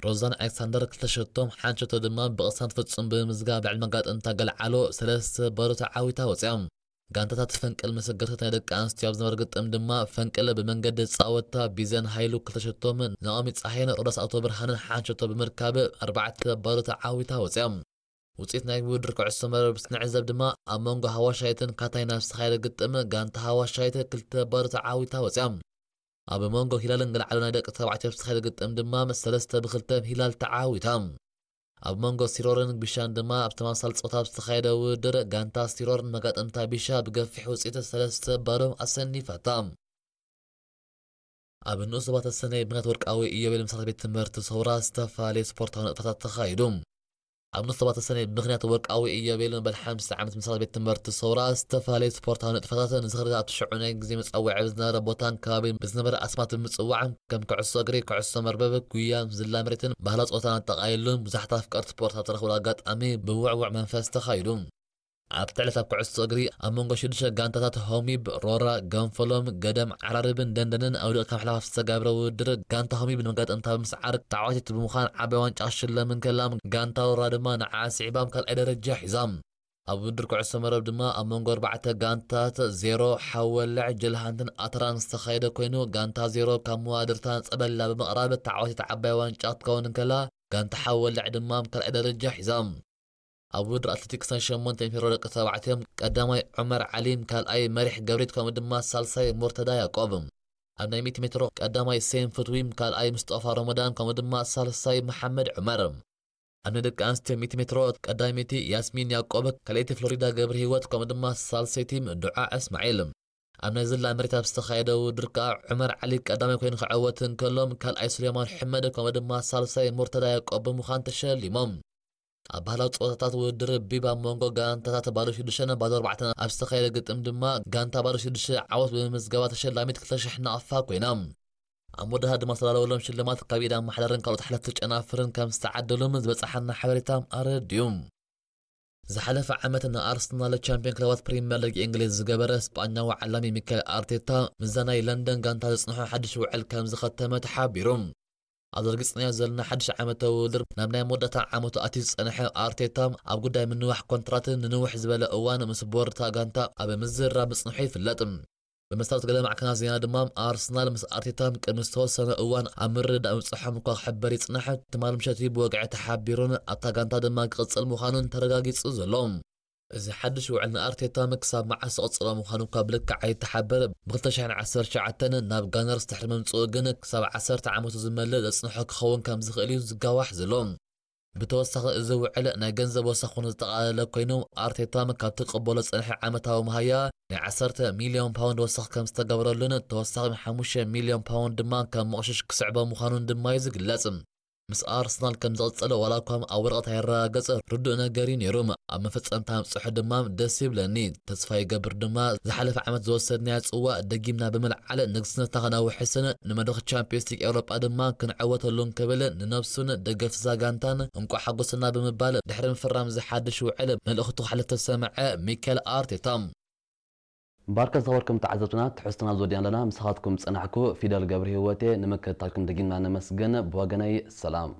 ሮዛን ኣሌክሳንደር ክልተ ሸቶም፣ ሓንቲ ሸቶ ድማ ብቕሳን ፍጹም ብምምዝጋብ ልዕሊ መጋጠምታ ገልዓሎ ሰለስተ ባዶ ተዓዊታ ወፂኣ። ጋንታታት ፈንቅል መሰገርታት ናይ ደቂ ኣንስትዮ ኣብ ዝነበረ ግጥም ድማ ፈንቅል ብመንገዲ ፃወታ ቢዘን ሃይሉ ክልተ ሸቶም፣ ናኦሚ ፀሃይን ሮዳስ ኣቶ ብርሃንን ሓንቲ ሸቶ ብምርካብ ኣርባዕተ ባዶ ተዓዊታ ወፂኣ። ውፅኢት ናይ ውድድር ኩዕሶ መረብ ስንዕዘብ ድማ ኣብ መንጎ ሃዋሻይትን ካታይን ኣብ ዝተኻየደ ግጥም ጋንታ ሃዋሻይት ክልተ ባዶ ተዓዊታ ወፂኣ። ኣብ መንጎ ሂላልን ገልዓሎ ናይ ደቂ ተባዕትዮ ኣብ ዝተኻየደ ግጥም ድማ ሰለስተ ብክልተ ሂላል ተዓዊታ። ኣብ መንጎ ሲሮርን ቢሻን ድማ ኣብ ተመሳሳሊ ፆታ ኣብ ዝተኻየደ ውድድር ጋንታ ሲሮር ንመጋጠምታ ቢሻ ብገፊሕ ውፅኢት ሰለስተ ባዶ ኣሰኒፋታ። ኣብ ንኡስ ዞባታት ሰነ ብምኽንያት ወርቃዊ ኢዮቤል ምሳሌ ቤት ትምህርቲ ሰውራ ዝተፈላለየ ስፖርታዊ ንጥፈታት ተኻይዱ። ኣብ ንኡስ ዞባታት ሰነ ብምኽንያት ወርቃዊ ኢዮቤል መበል ሓምሳ ዓመት ምሳሌ ቤት ትምህርቲ ሰውራ ዝተፈላለየ ስፖርታዊ ንጥፈታት ንዝኽሪ ኣብቲ ሽዑ ናይ ግዜ መጸውዒ ብዝነበረ ቦታን ከባቢን ብዝነበረ ኣስማት ብምጽዋዕ ከም ኩዕሶ እግሪ፣ ኩዕሶ መርበብ፣ ጉያ፣ ዝላ መሬትን ባህላዊ ጸወታን ኣጠቓሊሉ ብዙሓት ኣፍቀርቲ ስፖርት ኣብ ተረኽብሉ ኣጋጣሚ ብውዕውዕ መንፈስ ተኻይዱ። ኣብቲ ዕለት ኣብ ኩዕሶ እግሪ ኣብ መንጎ ሽዱሽተ ጋንታታት ሆሚብ፣ ሮራ፣ ገንፈሎም፣ ገደም ዓራርብን ደንደንን ኣውዲቕካ ምሕላፍ ዝተገብረ ውድድር ጋንታ ሆሚብ ንመጋጠምታ ብምስዓር ተዓዋቲት ብምዃን ዓባይ ዋንጫ ክትሽለም እንከላ፣ ጋንታ ሮራ ድማ ንዓ ስዒባም ካልኣይ ደረጃ ሒዛ። ኣብ ውድድር ኩዕሶ መረብ ድማ ኣብ መንጎ ኣርባዕተ ጋንታታት ዜሮ ሓወልዕ፣ ጀልሃንትን ኣተራን ዝተኻየደ ኮይኑ፣ ጋንታ ዜሮ ካብ መዋድርታ ጸበላ ብምቕራብ ተዓዋቲት ዓባይ ዋንጫ ክትከውን እንከላ፣ ጋንታ ሓወልዕ ድማ ካልኣይ ደረጃ ሒዛ። ኣብ ውድድር ኣትሌቲክስ ናይ ሸሞንተ ሜትሮ ደቂ ተባዕትዮ ቀዳማይ ዑመር ዓሊ፣ ካልኣይ መሪሕ ገብሪት ከምኡ ድማ ሳልሳይ ሙርተዳ ያዕቆብ። ኣብ ናይ ሚእቲ ሜትሮ ቀዳማይ ሴም ፍትዊ፣ ካልኣይ ምስጦፋ ረመዳን ከምኡ ድማ ሳልሳይ መሓመድ ዑመር። ኣብ ናይ ደቂ ኣንስትዮ ሚእቲ ሜትሮ ቀዳመይቲ ያስሚን ያዕቆብ፣ ካልኣይቲ ፍሎሪዳ ገብረ ህይወት ከምኡ ድማ ሳልሰይቲ ዱዓ እስማዒል። ኣብ ናይ ዝላ መሬት ኣብ ዝተኻየደ ውድድር ከኣ ዑመር ዓሊ ቀዳማይ ኮይኑ ክዕወት እንከሎ፣ ካልኣይ ሱሌማን ሕመድ ከምኡ ድማ ሳልሳይ ሙርተዳ ያዕቆብ ብምዃን ተሸሊሞም። ኣብ ባህላዊ ጸወታታት ውድድር ቢብ ኣብ መንጎ ጋንታታት ባዶ ሽዱሽተን ባዶ ኣርባዕተን ኣብ ዝተኻየደ ግጥም ድማ ጋንታ ባዶ ሽዱሽተ ዓወት ብምምዝጋባ ተሸላሚት ክልተ ሽሕ ናቕፋ ኮይና። ኣብ መወዳእታ ድማ ዝተዳለወሎም ሽልማት ካብ ኢድ ኣመሓዳርን ካልኦት ሓለፍቲ ጨናፍርን ከም ዝተዓደሎም ዝበጽሓና ሓበሬታ ኣረድዩ። ዝሓለፈ ዓመት ንኣርሰናል ቻምፒዮን ክለባት ፕሪምየር ሊግ እንግሊዝ ዝገበረ ስጳኛዊ ዓላሚ ሚካኤል ኣርቴታ ምስዛ ናይ ለንደን ጋንታ ዘጽንሖ ሓድሽ ውዕል ከም ዝኸተመ ተሓቢሩ። ኣብዚ ረጊጽናዮ ዘለና ሓድሽ ዓመታዊ ውድድር ናብ ናይ መወዳእታ ዓመቱ ኣትዩ ዝጸንሐ ኣርቴታ፣ ኣብ ጉዳይ ምንዋሕ ኮንትራትን ንንውሕ ዝበለ እዋን ምስ ቦርድ እታ ጋንታ ኣብ ምዝርራብ ምጽንሑ ይፍለጥ። ብመሰረት ገለ ማዕከናት ዜና ድማ፣ ኣርሰናል ምስ ኣርቴታ ቅድሚ ዝተወሰነ እዋን ኣብ ምርድዳእ ምብጽሖም እኳ ክሕበር ይጽናሕ፣ ትማሊ ምሸት እዩ ብወግዒ ተሓቢሩን ኣብታ ጋንታ ድማ ክቕጽል ምዃኑን ተረጋጊጹ ዘሎ። እዚ ሓድሽ ውዕል ንኣርቴታ ክሳብ መዓስ ዝቕጽሎ ምዃኑ እኳ ብልክዕ ኣይተሓበረ። ብ ክልተ ሽሕን ዓሰርተ ትሽዓተን ናብ ጋነርስ ድሕሪ ምምጽኡ ግን ክሳብ ዓሰርተ ዓመቱ ዝመልእ ዘጽንሖ ክኸውን ከም ዝኽእል እዩ ዝጋዋሕ ዘሎ። ብተወሳኺ እዚ ውዕል ናይ ገንዘብ ወሰኽ እውን ዘጠቓለለ ኮይኑ፣ ኣርቴታ ካብ ትቕበሎ ዝጸንሐ ዓመታዊ መሃያ ናይ ዓሰርተ ሚልዮን ፓውንድ ወሰኽ ከም ዝተገበረሉን ተወሳኺ ሓሙሽተ ሚልዮን ፓውንድ ድማ ከም መቕሽሽ ክስዕቦ ምዃኑን ድማ እዩ ዝግለጽ። ምስ ኣርሰናል ከም ዝቕጽል ዋላ እኳ ኣብ ወረቐት ኣይረጋገጽ ርዱእ ነገር እዩ ነይሩ። ኣብ መፈጸምታ ምብጽሑ ድማ ደስ ይብለኒ። ተስፋ ይገብር ድማ ዝሓለፈ ዓመት ዝወሰድናዮ ጽዋእ ደጊምና ብምልዓል ንግስነትና ከነውሕስን ንመድረኽ ቻምፒዮንስ ሊግ ኤውሮጳ ድማ ክንዕወተሉን ክብል ንነብሱን ደገፍቲ እዛ ጋንታን እንቋዕ ሓጎሰና ብምባል ድሕሪ ምፍራም እዚ ሓድሽ ውዕል መልእኽቱ ከሕልፍ ተሰምዐ ሚኬል ኣርቴታ። ባርከ ዝኸበርኩም ተዓዘብትና፣ ትሕዝቶና ዝወዲእና ኣለና። ምሳኻትኩም ዝጸናሕኩ ፊደል ገብረ ህይወቴ። ንምክትታልኩም ደጊምና ነመስግን። ብወገነይ ሰላም።